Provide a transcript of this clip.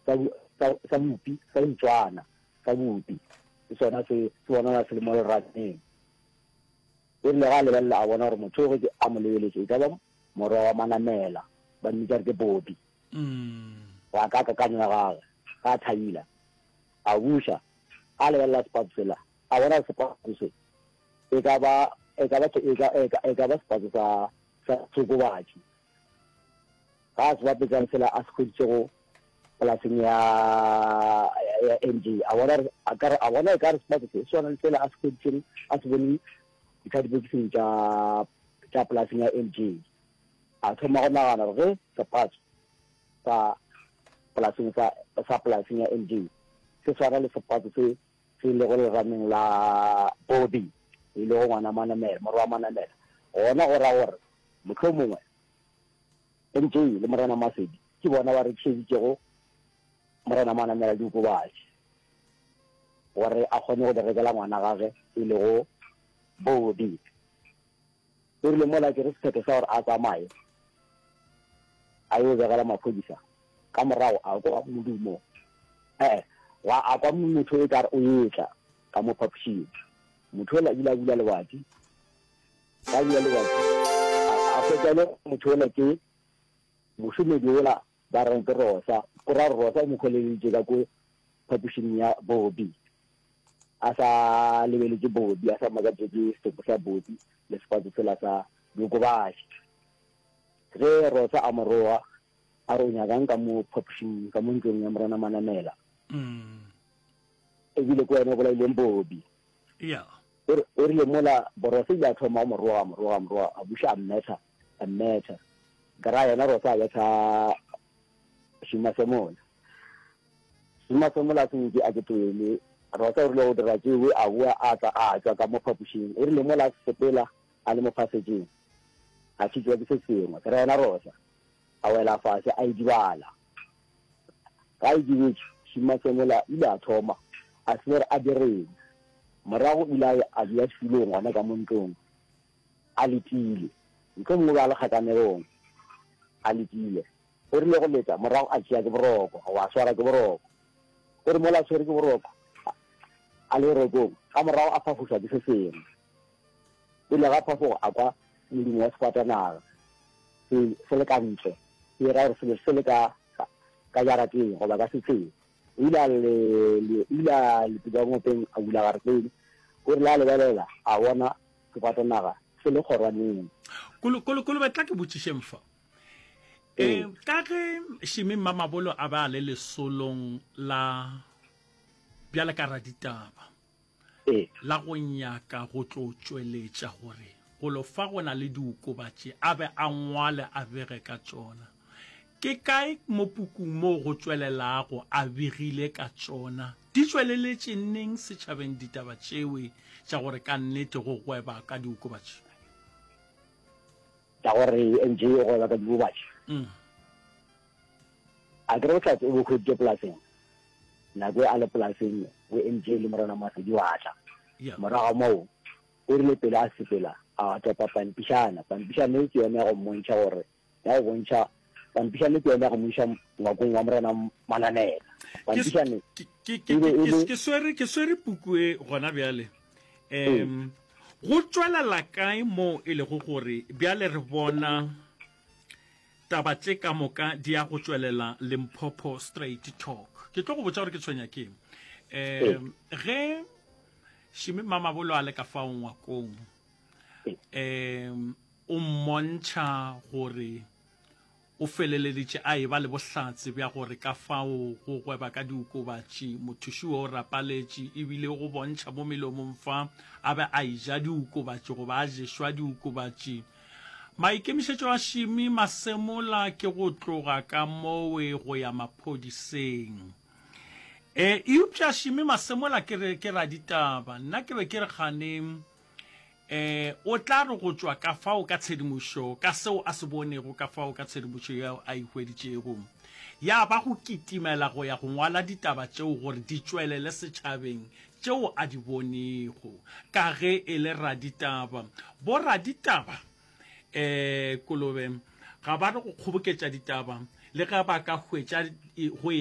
Sa, sa, sa bupi, sa ntswana, sa bupi. Ke sona se, se bonala se le mo lerateng. O rile ge a lebelela a bona gore motho yo ge a mo lebeletše e ka ba morwa wa Manamela, ba mmitša re ke Bobby. Go ya ka kakanyo ya gagwe, ge a thabile, a buša a lebelela sepatso sela, a bona gore sepatso se e ka ba, e ka ba, e ka, e ka, e ka ba sepatso sa, sa seokobatši. Ga a se bapetša le sela a se hweditšego polaseng ya, ya MJ, a bona gore, a ka re, a bona e ka re sepatso se swana le sela a se hweditšeng, a se boneng dikadibokising tša, tša polaseng ya MJ. A thoma go nagana gore ge sepatso sa polaseng sa, sa polaseng ya MJ se swana le sepatso se se lego lerameng la Bobby, e lego ngwana Manamela, morwa wa Manamela, gona go ra gore mohlomongwe MJ le Morena Masedi ke bona ba rekišeditšego Morena Manamela diokobatši gore a kgone go di rekela ngwana gage e lego Bobby. O rile mola a tšere sephetho sa gore a tsamaye a yo begela maphodisa, ka morago a kwa modumo, ee, gwa a kwa motho e kare o etla ka mo phapošing. Motho yola ile a bula lebati, ga a bula lebati a hwetša e le motho yola ke mošomedi yola ba reng ke Rosa, go ra gore Rosa o mo hweleleditše ka ko phapošing ya Bobby. A sa lebeletše Bobby, a sa makatšwe ke setopo sa Bobby le sepatso sela sa diokobatši. Ge Rosa a mo roga, a re o nyakang ka mo phapošing, ka mo ntlong ya Morena Manamela? Ebile ke wena o bolaileng Bobby. Yeah. O rile mola Rosa ile a thoma go mo roga, a mo roga, a mo roga, a buša a mmetha, a mmetha. Ka ra yena Rosa a betha Šumasemola. Šumasemola a se nke a ke tloele. Rosa o rile go dira tšewe, a boa a tla a tšwa ka mo phapošing. O rile mola a sepela a le mo phasetšeng, a šitwa ke se sengwe. Ka ra yena Rosa a wela fase a idibala. Ga a idibetše, Šumasemola ile a thoma a se gore a direng. Morago o ile a ya a dula setulong gona ka mo ntlong a letile. Mohlomongwe o be a le kgakanegong a letile. O rile go leta, morago a tšea ke boroko, goba a swara ke boroko. O re mola a tshwere ke boroko, a le borokong, ka morago a phafošwa ke se sengwe. Pele ga phafogo a kwa modumo wa sefatanaga se, se le ka ntle, se era gore selo se le ka, ka jarateng goba ka setsheng. O ile a le, le, o ile a letuka ngopeng a bula garetene. O rile a lebelela, a bona sefatanaga se le kgorwaneng. Kolo, kolo, kolobe, tla ke botšišeng fa. E, ka ge Shimi Mmamabolo a be a le lesolong la bjale ka raditaba la go nyaka go tlo tšweletša gore golo fa go na le diokobatši a be a ngwale a bege ka tšona. Ke kae mo pukung moo go tšwelelago a begile ka tšona? Di tšweleletše neng setšhabeng ditaba tšewe tša gore ka nnete go gweba ka diokobatši? Tša gore MJ o gweba ka diokobatši. A ke re bohlatse o bo hweditše polaseng? Nako e a le polaseng bo MJ le Morena Masedi wa tla. Morago ga moo o rile pele a sepela a topa pampišana. Pampišana e ke yona ya go mmontšha gore ya go bontšha pampišane ke yona ya go mo iša ngwakong wa Morena Manamela. Pampišane e be e le. Ke swere, ke swere puku e gona bjale. Um, go tšwelela kae moo e lego gore bjale re bona taba tše ka moka di ya go tšwelela Limpopo Straight Talk. Ke tlo go botša gore ke tshwenya ke um ge Shimi Mamabolo a le ka fao ngwakong um o mmontšha gore o feleleditše a eba le bohlatse bja gore ka fao go gweba ka diokobatši mothuši o rapaletše ebile go bontšha mo melomong fa a be a eja diokobatši goba a ješwa diokobatši. Maikemišetšo a Shimi Masemola ke go tloga ka mowe go ya maphodiseng. E, eupša Shimi Masemola ke re ke raditaba. Nna ke be ke re kgane e, o tla re go tšwa ka fao ka tshedimošo, ka seo a se bonego ka fao ka tshedimošo yeo a e hweditšego, ya ba go kitimela go ya go ngwala ditaba tšeo gore di tšwelele setšhabeng tšeo a di bonego ka ge e le raditaba. Boraditaba um kolobe ga ba re go kgoboketša ditaba le ge ba ka hwetša go e.